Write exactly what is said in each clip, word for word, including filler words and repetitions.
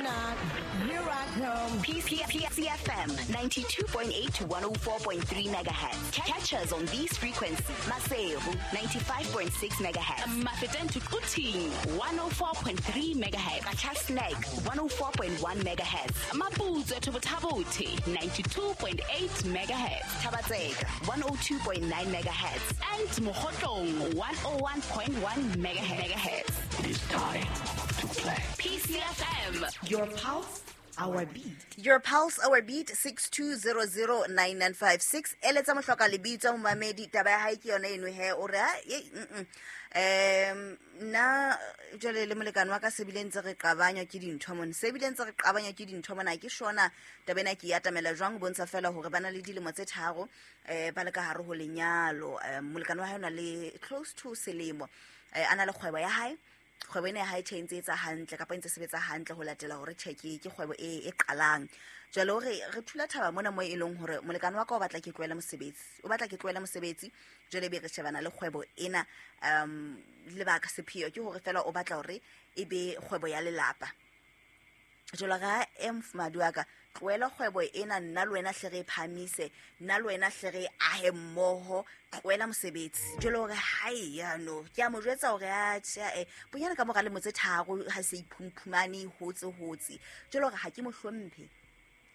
Knock, here I come. P C F M ninety-two point eight to one oh four point three megahertz. Catch us on these frequencies. Maseru ninety-five point six megahertz. Mafeteng to Quthing one oh four point three megahertz. Qacha's Nek one oh four point one megahertz. Maputswe to Botha-Bothe ninety-two point eight megahertz. Thaba-Tseka one oh two point nine megahertz. And Mokhotlong one oh one point one megahertz. It is time to play. P C F M. Your pulse, our beat. Your pulse, our beat, six two zero zero nine nine five six. Eletsa mohloka lebitso momamedi, taba ya hae ke yona eno he, o re, ha, ye, mm, mm. Um, nna jwale le molekane wa ka se bile ntse re qabanywa ke dintho mona. Se bile ntse re qabanywa ke dintho mona, ke shona taba ena ke e atamela jwang, ho bontsha fela hore ba na le dilemo tse tharo, eh, ba le ka hare ho lenyalo. Eh, molekane wa hae o na le close to selemo. Eh, a na le kgwebo ya hae. Kgwebo ena ya hae tjhe e ntse e etsa hantle kapa e ntse e sebetsa hantle ho latela hore tjhe ke, ke kgwebo e, e qalang. Jwale hore re thula thaba mona moo e leng hore molekane wa ka o batla ke tlohele mosebetsi. O batla ke tlohele mosebetsi, jwale ebe re shebana le kgwebo ena, um, lebaka sepheo ke hore fela o batla hore e be kgwebo ya lelapa. Jwale ga e mofumahadi wa ka, tlohela kgwebo ena, nna le wena hle re e phahamise, nna le wena hle re ahe mmoho, tlohela mosebetsi. Jwale hore hai, ya no, ke a mo jwetsa hore atjhe, eh, bonyane ka mora lemo tse tharo ha se iphumphumane, hotse, hotse. Jwale hore ha ke mo hlomphe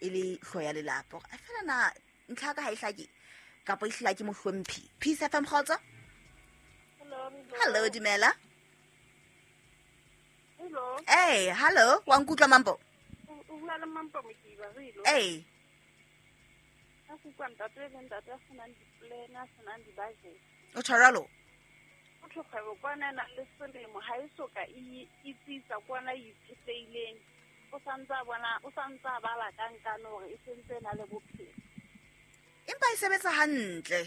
e le hlooho ya lelapa. Hore, a fela na ntlha ya ka ha e hlake, kapa e hlile ha ke mo hlomphe. Peace F M, kgotso? Hello, Hello, dumela. Hello. Hey, hello, wa nkutlwa Mampo? O bua le Mampo Mokiba, re ilo. Hey. Ka go utlwa ntate le ntate a senang di-plan, a senang di-budget. O tjho jwalo? O tjho kgwebo kwana e nang le selemo, ha e soka e, e tsitsa kwana e itshetlehileng. O santse a bona, o santse a bala ka nkane hore e sentse e na le bophelo. Empa e sebetsa hantle.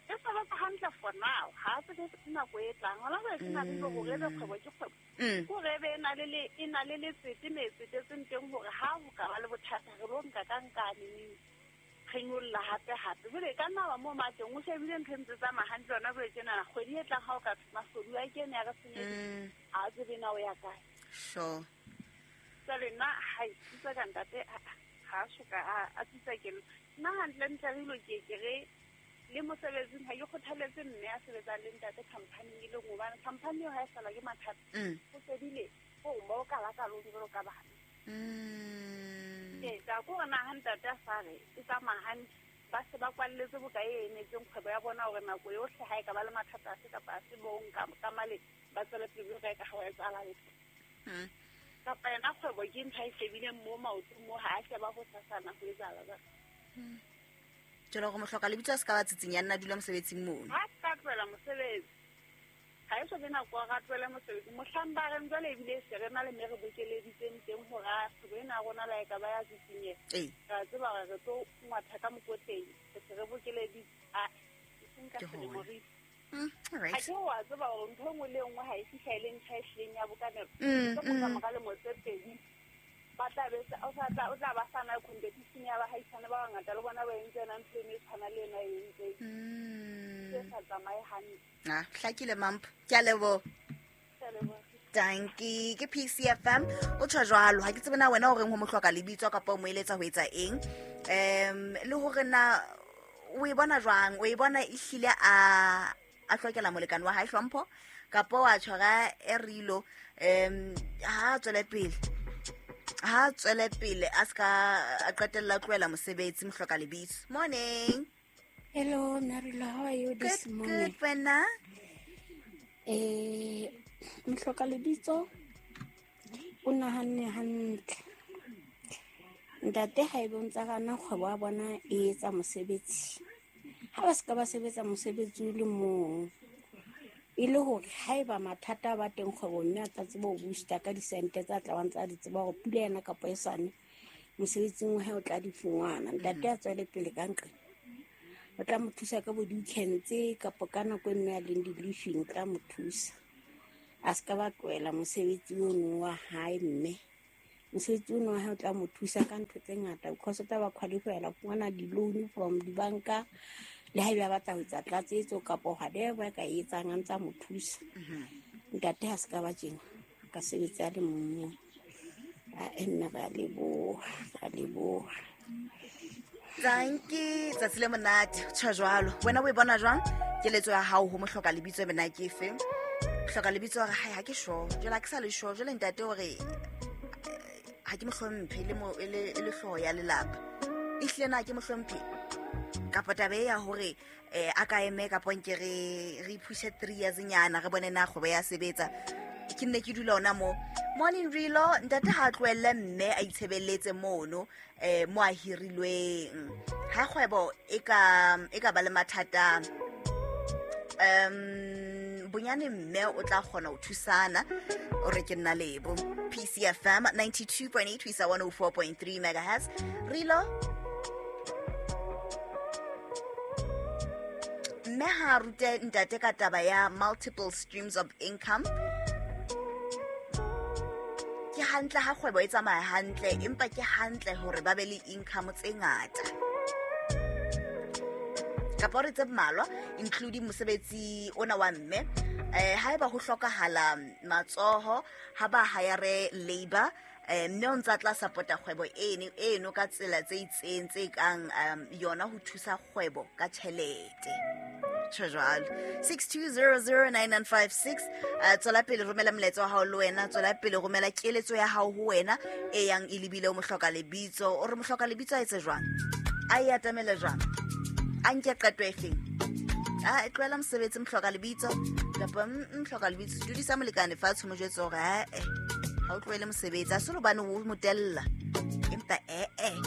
E sebetsa hantle for now. Ha a tsebe nako e tlang. Hona jwale ke na le hore ebe kgwebo ke kgwebo. Mm. Ke hore ebe e na le le, e na le letsete me e tsetetseng teng hore ha ho ka ba le bothata re lo nka ka nkane neng. Re nyolla hape hape. Jwale e ka nna wa moo mateng, o shebile ntho e ntse tsamaya hantle hona jwale tjenana. Kgwedi e tlang ha o ka thwe mashodu a kene a re senyeditse. Mm. Ha a tsebe na o ya kae. Sure. Jwale nna ha e tsitsa ka ntate, ha, ha a soka a, a tsitsa ke nna. Nna hantle-ntle re ilo ke ke re le mosebetsing ha ke kgothaletse mme a sebetsang le ntate company-ing e le nngwe, hobane company eo ha e hlahelwa ke mathata, Mm. ho fedile, ho mo ka la ka lona jwalo ka bana. Mm. Ee, ka ko hore na ha ntate a sa re e tsamaya hantle, ba se ba kwalletse bokae e emetseng kgwebo ya bona hore nako yohle ha e ka ba le mathata afe kapa afe bo nka ka male, ba tswele pele ho reka ha ho etsahala letho. Mm. Kapa yona kgwebo ke ntho a e shebileng mo maotong mo, ha a sheba ho sasana ho etsahala jwang. Mm. Jwale hore mohloka lebitso a se ka ba tsitsinya, a nna a dula mosebetsing mono. Ha a ka tlohela mosebetsi. Ha e so be nako ya hore a tlohele mosebetsi. Mohlang ba reng jwale ebile e se re na le mme re bokeleditseng teng hore a kgwebo ena ya rona le ha e ka ba ya tsitsinyeha. Ee. Re a tseba hore re tlo ngwatha ka mokotleng. Re se re bokeleditse. A, e seng ka Ke selemo hona. re itse. Mm, all right. Ha ke wa tseba hore ntho e nngwe le e nngwe ha e fihla e le ntho e hlileng ya bokanelo. Mm, Ka mm. mora lemo tse pedi, ba tla be se, o sa tla, o tla ba sa na competition ya bahaisane ba bangata le bona ba entse yona ntho eno e tshwana le ena e entseng. Mm. Se sa tsamaye hantle. Ah, hlakile Mampo. Ke a leboha. Ke a leboha. Dankie. Ke P C F M. O tjho jwalo. Ha ke tsebe na wena o reng ho mohloka lebitso kapa o mo eletsa ho etsa eng. Um, le hore na o e bona jwang? O e bona e hlile a, a hlokela molekane wa hae hlompho kapa wa tshwara e rilo, um, ha a tswele pele. Ha a tswele pele a ska a qetella a tlohela mosebetsi mohloka lebitso. Morning. Hello, Narila, how are you this Good, morning? good, wena. Eh, mohloka lebitso o nahanne hantle. Ntate ha e bontsa gana kgwebo ya bona e etsa mosebetsi. Ha ba ska ba sebetsa mosebetsi o le mong, e le hore haeba mathata a ba teng kgwebong, mme a tla tseba ho booster ka disente tsa tla bang tsa di tseba hore pula ena kapa e sane mosebetsing wa hae o tla di fumana. Ntate a tswele pele ka nqe. O tla mo thusa ka bo di-weekends kapa ka nako e nngwe a leng di-leave-ing, o tla mo thusa. A ska ba tlohela mosebetsi ono wa hae mme. Mosebetsi ono wa hae o tla mo thusa ka ntho tse ngata because o tla ba qualify-ela ho fumana di-loan from dibanka le haeba a batla ho etsa tlatsetso kapa whatever a ka e etsang a ntsa mo thusa. Mm-hmm. Ntate ha se ka ba tjena, a ka sebetsa a le mong. A mme ra leboha, ra leboha. Dankie, tsatsi le monate, tjho jwalo. Wena o e bona jwang? Keletso ya hao ho mohloka lebitso mena ke efe? Hloka lebitso hore hai ha ke sure. Jwale ha ke sa le sure, jwale ntate hore ha ke mo hlomphe le mo le le hlooho ya lelapa. Ehlile na ke mo hlomphe? Kapa taba e ya hore eh a ka eme kapa nke re re phushe three years nyana re bone na kgwebo ya sebetsa. Ke nne ke dula ona mo. Morning Rilo, ntate ha tlohelle mme a itshebeletse mono eh mo a hirilweng. Ha kgwebo e ka e ka ba le mathata um bonyane mme o tla kgona ho thusana o re ke nna lebo. P C F M ninety-two point eight to one oh four point three megahertz. Rilo, mme ha rute ntate ka taba ya multiple streams of income. Ke hantle ha kgwebo e tsamaya hantle, empa ke hantle hore ba be le income tse ngata. Kapa re tse mmalwa, including mosebetsi ona wa mme. Eh haeba ho hlokahala matsoho ha ba hire labor, eh mme o ntsa tla support-a kgwebo eno eno ka tsela tse itseng tse kang yona ho thusa kgwebo ka tjhelete. Tjho jwalo. six two zero zero nine nine five six. Tswela pele romela molaetsa wa hao le wena, tswela pele romela keletso ya hao ho wena e yang e lebile o mohloka lebitso. O re mohloka lebitso a etse jwang? A e atamele jwang? A nke qeto e feng? A e tlohela mosebetsi mohloka lebitso kapa mohloka lebitso dudisa molekane fatshe mo jwetse hore ha eh ha o tlohele mosebetsi a se hobane o motella empa eh eh